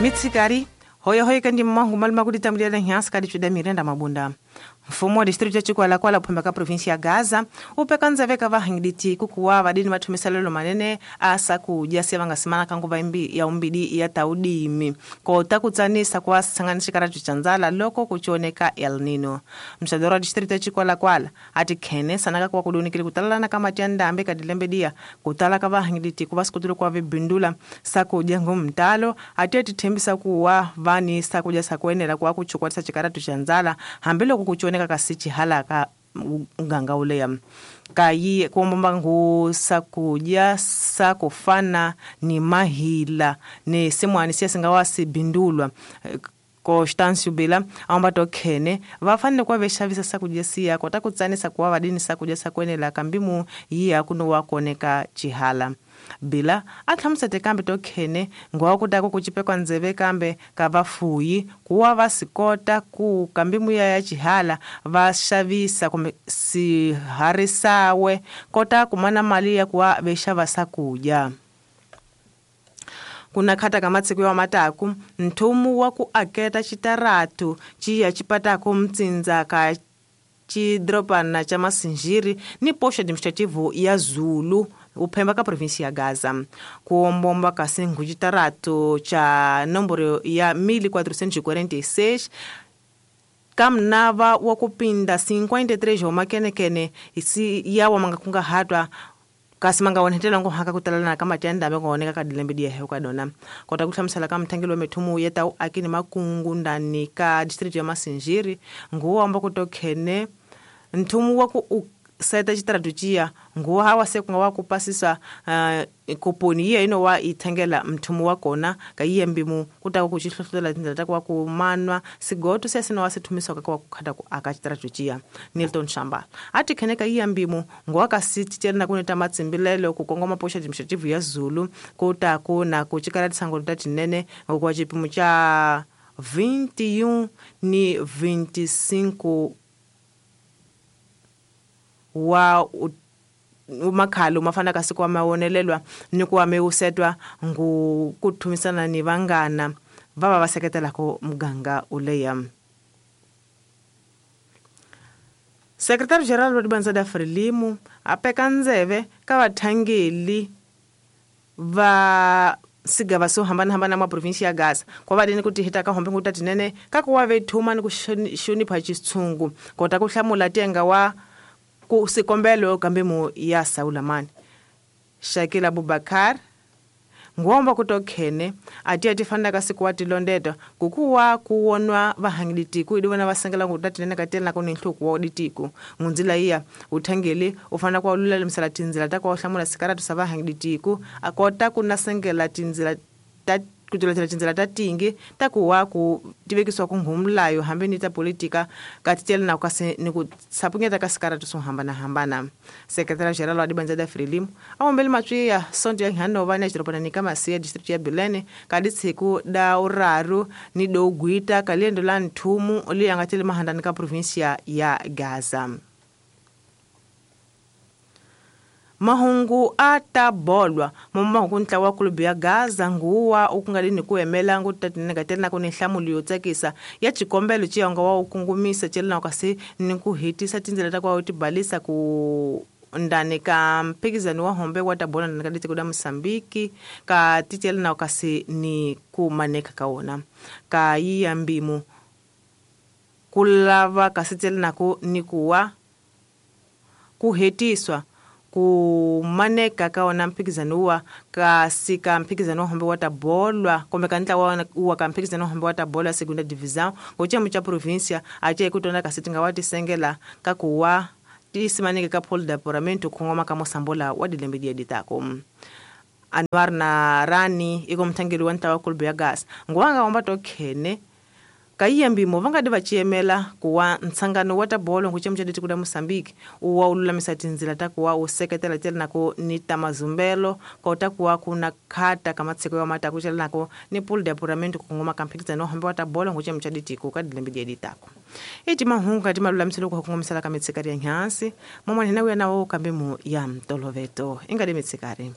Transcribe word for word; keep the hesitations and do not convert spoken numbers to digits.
Mitsikari hoyo hoyo kandi mmangu maluma kuti tambulira nhansi kadi chuda mirenda mabunda. Mfumo wa distrito ya Chikwalakwala uphemba ka provinsi ya Gaza upeka nzeve ka vahangiditi kukuwa vadini vathumisalelo manene asa kudya siya vangasimana ka nguva imbi ya umbidi ya taudimi kota kutsanisa kwa sanganisha karatu cha nzala loko kuchoneka El Nino. Mshadoro wa distrito ya Chikwalakwala ati khene sanaka kwa kudunikile kutalana ka mati ya ndambe ka dilembedia kutala ka vahangiditi kuva sikutulu kwa vibindula sakudya ngumtalo ati atithembisa kuwa vani sakudya sakwenela kwa kuchukwatisa chikaratu cha nzala hambiloko kuchoneka kasichi halaka nganga uleya kayi kuomba ngu sakudya sakufana ni mahila ni simwani siya singawasi bindulwa Constâncio Bila aomba tokhene vafanele kuva vexavisa sakudya siya kota kutsanisa kuva vadini sakudya sakwenela kambimu yiya kuno wakoneka chihala. Bila a hlamusete kambe tokhene ngwa kutako kuchipekwa ndzeve kambe ka vafuyi kuwa va sikota ku kambimu ya ya chihala va xavisa kumbe siharisawe kota kumana mali ya kuwa vexava sakudya. Kuna khata ka matsiku ya mataku nthumu wa ku aketa chitaratu chiya chipatako mtsindza ka chidropana cha Masinjiri ni posto administrativo ya Zulu uphemba ka provinsi ya Gaza. Kuombomba ka singu chitaratu cha nomboro ya mil quatrocentos e quarenta e seis kamnava wa kupinda cinquenta e três omakenekene isi yawa mangakunga hatwa kasi manga wonhetela ngo haka kutalana kama tenda bengo oneka kadilembe dia heuka dona kota kuhlamusela ka mthangelo methumu yeta akini makungu ndani ka district ya Masinjiri nguwa amba kutokhene nthumu wa ku seta chitaratuchia nguwa hawa se kunga wa kupasisa uh, kuponi iya ino wa ithengela mthumu wa kona ka iye mbimu kutaka kuchihlohlela tindlela ta kwa kumanwa sigoto sesino wa sithumisa ka kwa kukhata ku aka chitaratuchia. Nilton Shamba ati kheneka iye mbimu nguwa ka sititela kuneta matsimbilelo ku kongoma posha administrative ya Zulu kutako na kuchikala tsango ta tinene kwa chipimo cha vinte e um ni vinte e cinco wa umakhalo mafana kasi kwa mawonelelwa ni kuwa meusetwa ngu kuthumisana ni vangana vava va seketelako muganga uleya. Secretary General wa Dibanza da Frelimu apeka ndzeve ka vathangeli va sigava so hambana hambana ma provinsi ya Gaza kwa vadini kuti hita ka hombe nguta tinene ka kuwa vethuma ni ku xonipha xitshungu kota ku hlamula tenga wa ku sikombelo kambe ya Saulamani. Shakila Abubakar ngomba kutokhene ati atifanaka siku watilondeta kukuwa kuwonwa vahangilitiku idivona vasengela ngutatinene katela kuni nhluku wa ditiku ngunzila iya uthangeli ufana kwa ulula msala tinzila ta kwa hlamula sikaratu sa vahangilitiku akota kunasengela tinzila ta kutulatela tinzila ta tingi takuwa ku tivekiswa ku nghumlayo hambi ni ta politika katitela na kasi ni ku sapunyeta ka sikaratu swo hambana hambana. Secretary General wa Dibanza da Frelimu awombele matswiya sonto ya Hanova na xiropana ni ka Masiya district ya Bilene ka ditshiku da uraru ni do gwita ka liendo la nthumu li nga tele mahandani ka provinsia ya Gaza. Mahungu atabolwa momahungu ntlawa wa kulubu ya Gaza nguwa ukungalini kuemela ngutatinengatela kuni nhlamulo yo tsakisa ya xikombelo xiyonga wa ukungumisa celina kasi ni ku hitisa tindzela ta kwa utibalisa ku ndani ka mphikizano wa hombe wa tabola ndani ka ditiko da Mosambiki ka ticelina kasi ni ku maneka ka wona ka yiya mbimu ku lava kasi celina ku ni kuwa ku hetiswa ku maneka ka wona mphikizano wa kasi ka mphikizano wa hombe wa tabolwa kumbe ka ntlawa wa ka mphikizano wa hombe wa tabolwa segunda divisão ngochemo cha provincia ache kutona kasi tinga wa tisengela ka kuwa tisimaneke ka polo d'apuramento khongoma ka mosambola wa dilembe dia ditako. Anwar na Rani iko mthangeli wa ntlawa kulubu ya Gaza ngwanga omba tokhene Kayiyambimo vangadi vachiyemela kuwa ntsangano wa tabolo nguchemu cha ditiko da Mosambiki uwa ululamisa tinzila ta kuwa useketela tela nako ni tamazumbelo kota kuwa kuna khata kamatseko ya mata kuchela nako ni pool de apuramento kungoma kamphikizano hambe wa tabolo nguchemu cha ditiko ka dilembe dia ditako. Iti mahungu kati malulamiselo ku kungomisela ka mitsikari ya nyansi momwe hina uya nawo kambe mu ya mtoloveto ingadi mitsikari.